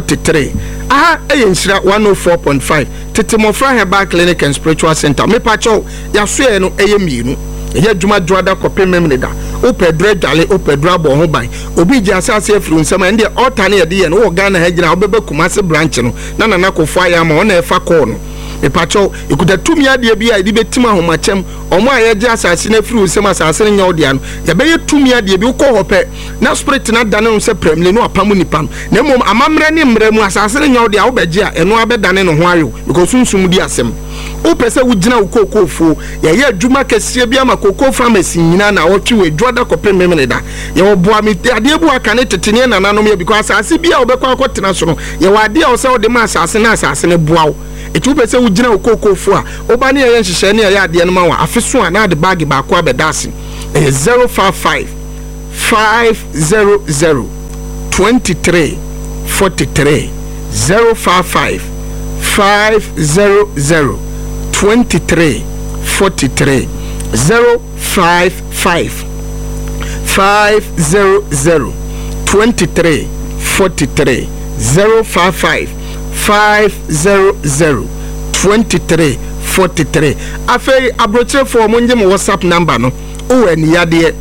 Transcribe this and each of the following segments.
43. Aha ɛyɛ Nhyira 104.5, Tete Mmɔfra Herbal Clinic and Spiritual Center. Mepakyɛw, yɛasoɛɛ no ɛyɛ mmienu. Ɛyɛ adwuma dwoada kɔpem Memeneda. Wopɛ aduru adwale, wopɛ aduru abɔ ho ban, obi gye asase afiri wo nsam a, ɛndeɛ altar no yɛde yɛ no. Wowɔ Ghana ha gyina a, wobɛba Kumase branch no na Nana Kofo ayɛ ama wo, ɔna ɛfa kɔɔ no. Mepakyɛw, yɛkuta tumi adeɛ bi a yɛde bɛtim ahomakyɛm. Ɔmo a yɛgye asase no afiri wo nsam, asase no nyɛ wo dea no, yɛbɛyɛ tumi adeɛ bi. Wokɔ hɔ pɛ na spirit no adane wo sɛ prɛmle no apam nipa no. Na mmom amammerɛ ne mmerɛ mu, asase no nyɛ wo dea, wobɛgye a, ɛno abɛdane ne ho ayew because sunsum di asɛm. Wopɛ sɛ wogyina wo kookoofuo, yɛyɛ adwuma kɛseɛ bi ama kookoo farmers nyinaa na wɔtwe wɔ adwuada kɔpem Memeneda. Yɛwɔ boa me adeɛ bu aka ne tete ne nananom yɛ because asase bi a wobɛkɔ akɔtena so no, yɛwɔ adeɛ a wɔsɛ wode ma asase na asase no boa wo. Ɛti wopɛ sɛ wogyina wo kookoofuo a, woba ne yɛyɛ nhyehyɛe ne yɛyɛ adeɛ no ma wo a, afe so a na ade baage baako abɛda ase. Ɛyɛ 055 500 23 43, 055 500 23 43, 055 500 23 43, 055 500 23 43. Afei aburokyerefoɔ, mo nye mo WhatsApp number no. Wowɔ ani yadeɛ,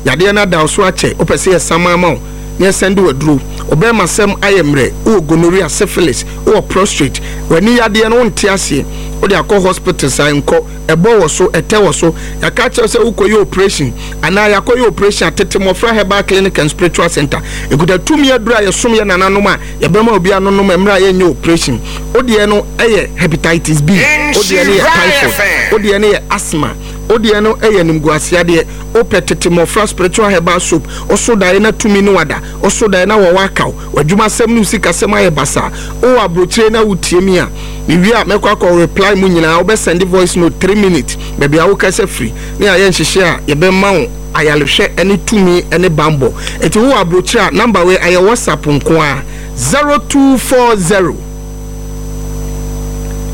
yadeɛ no ada wo so akyɛ, wopɛ sɛ yɛsama ama wo na yɛsɛnde waduro, ɔbɛrima sɛm ayɛ mmerɛ, wowɔ gonorrhea, syphilis, wowɔ prostate, w'ani yadeɛ no wonte aseɛ, wode akɔ hospital saa nkɔ, ɛbɔ wɔ so, ɛtɛ wɔ so, yɛaka kyerɛ sɛ wokɔyɛ operation anaa yɛakɔyɛ operation. Atete Mmɔfra Herbal Clinic and Spiritual Center ɛkuta tumi aduro a yɛsom yɛ nananom a yɛbɛma obi anonom mmerɛ a yɛnyɛ operation. Wodeɛ no ɛyɛ hepatitis B, wodeɛ no yɛ typhoid, wodeɛ no yɛ asthma, wodeɛ no ɛyɛ nimguaseadeɛ, wopɛ Tete Mmɔfra Spiritual Herbal Soap, ɔso daeɛ na tumi no wada, ɔso daeɛ na wɔwɔ akaw, w'adwumasɛm ne wo sikasɛm ayɛ basaa, wowɔ aburokyire na wotie mi a, mewie a mɛkɔ akɔ reply mu nyinaa. Wobɛsɛnde voice note 3 minutes, baabi a wokasa firi ne ayɛ nhyehyɛ a yɛbɛma wo ayarehwɛ ne tumi ne bambɔ. Ɛnti wowɔ aburokyire a, number wei ayɛ WhatsApp nko a: 0240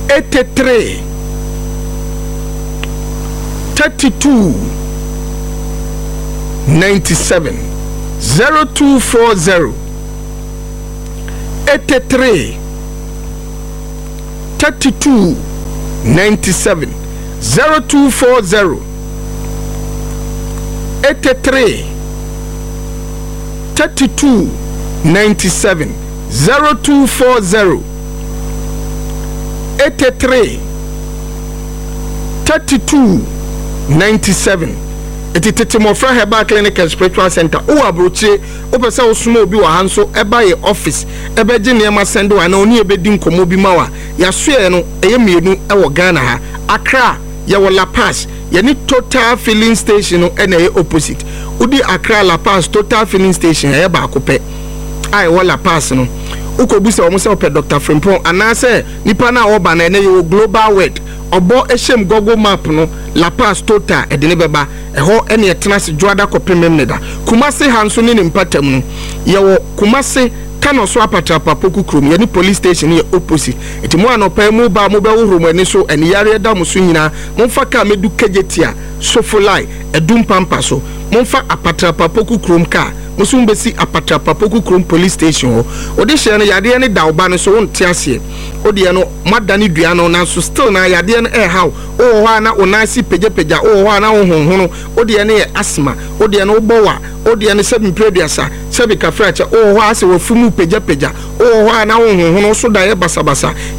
83 32 97, 0240 83 32 97, 0240 83 32 97, 0240 83 32 97. Ɛti Tete Mmɔfra Herbal Clinic and Spiritual Center, wowɔ aburokyire, wopɛ sɛ wosoma obi wɔ ha nso ɛba yɛ office ɛbɛgye nneɛma sɛnde wɔ anaa ɔne yɛbɛdi nkɔmmɔ bi ma wa, yɛasoɛ no ɛyɛ mmienu ɛwɔ Ghana ha. Accra, yɛwɔ Lapaz, yɛne Total filling station no ɛna ɛyɛ opposite. Wodi Accra Lapaz Total filling station, ɛyɛ baako pɛ a ɛwɔ Lapaz no. Wokɔbu sɛ wɔn sɛ wɔpɛ Dr Frimpong anaasɛ nipa no a wɔba no, ɛnɛ yɛwɔ Global Word ɔbɔ ɛhyɛm. Google Map no, Lapaz Total, ɛde ne bɛba ɛhɔ. Ɛne ɛtena ase dwoada kɔpem Memeneda. Kumase ha nso ne ne mpatam no, yɛwɔ Kumase Kano so, Apatrapa Poku kurom, yɛne police station yɛ opposite. Nti mo anɔpa mu ba, mobɛhohoro mo ani so, ɛne yareɛ da mo so nyinaa, momfa kaa mɛdu Kejetia, Sofolai, Ɛdum Pampa so. Momfa Apatrapa Poku kurom kaa mo so, mbɛsi Apatrapa Poku kurom police station hɔ. Wode hyɛ no, yadeɛ no da wo ba no so, wonte aseɛ, wodeɛ no moadane dua no, nanso still na yadeɛ no ɛɛhaw. Wowɔ hɔ a na wo nan ase pagyapagya, wowɔ hɔ a na wo honhono, wodeɛ no yɛ asthma, wodeɛ no wobɔ wa, wodeɛ no sɛbi mpere aduasa, sɛbi kafrakyɛ, wowɔ hɔ a sɛ wafu mu pagyapagya, wowɔ hɔ a na wo honhono so da yɛ basabasa.